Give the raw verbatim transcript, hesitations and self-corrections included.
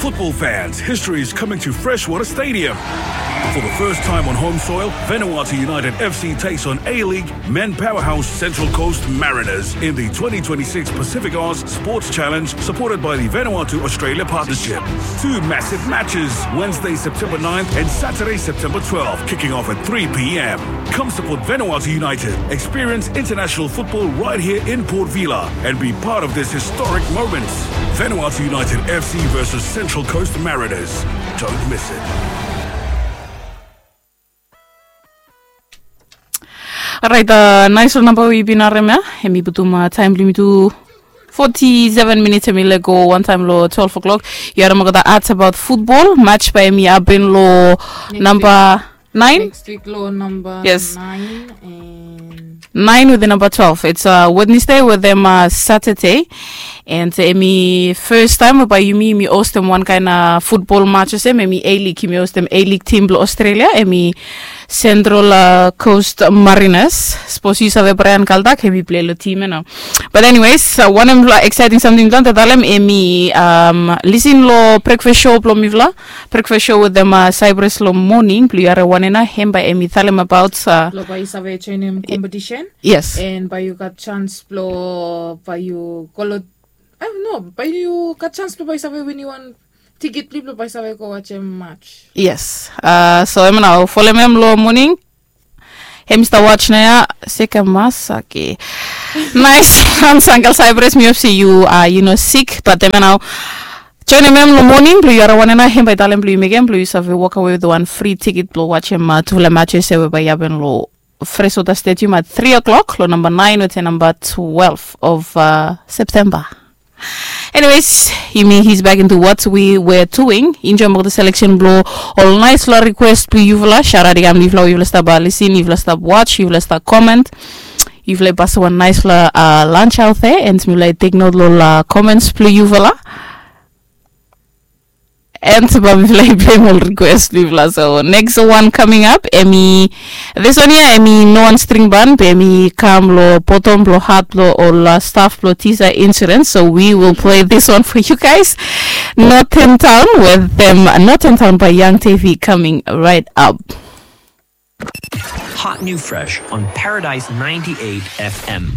Football fans, history is coming to Freshwater Stadium. For the first time on home soil, Vanuatu United F C takes on A-League men powerhouse Central Coast Mariners in the twenty twenty-six Pacific Oz Sports Challenge, supported by the Vanuatu Australia Partnership. Two massive matches, Wednesday, September ninth and Saturday, September twelfth, kicking off at three p.m. Come support Vanuatu United. Experience international football right here in Port Vila and be part of this historic moment. Vanuatu United F C versus Central Coast Mariners. Don't miss it. Orait, nais long namba we yumi bin harem ya, em i putum taem blong yumi tu forty-seven minutes, em i lego wantaem long twelve o'clock. Yu harem olgeta ads about football match bae em i hapen long namba nine. Next week long namba, yes, nine and nine wetem namba twelve. It's Wednesday wetem Saturday. And em i first time we bae yumi yumi hostem wan kaen football match olsem, em i A-League, yumi hostem A-League team blong Australia, em i Central Coast Mariners. Sapos yu save Brian Kaldak, em i plei long team ya nao. But anyways, wanem exciting samting mi talem, em i lisin long breakfast show blong mifala. Breakfast show wetem Cyprus long moning blong yu harem wanem nao, hem bae em i talem about long bae yu save joinim competition. Yes. And bae yu gat chance blong bae yu go long, I don't know, bae yu gat chance blong bae yu save winim wan tikit blong yu blong bae yu save go wajem match. Yes. So em nao folem em long moning. Hem i stap watch nao ya, Seke Masaki. Nais. Uncle Cyprus, mi hop se yu, yu no sik, but em nao joinim em long moning blong yu harem wanem nao, hem bae i talem blong yu mekem blong yu save wokawe wetem wan fri tikit blong wajem tufala matches we bae i hapen long Freshwater Stadium at three o'clock long namba nine wetem namba twelve of September. Anyways, yumi he's back into what we were doing. Enjoy olgeta selection blong ol naisfala request blong yufala. Shout out i kam long yufala we yufala stap lisin, yufala stap watch, yufala stap comment. Yufala i pasem wan naisfala lunch out there, and mifala i take note long ol comments blong yufala. And bae mifala i pleim ol request blong yufala. So next one coming up, em i, this one ya em i no wan string ban, be em i kam long bottom blong hat blong ol staff blong Tisa Insurance. So we will play this one for you guys. Northern Town wetem Northern Town by Young Davy coming right up. Hot new fresh on Paradise ninety-eight F M.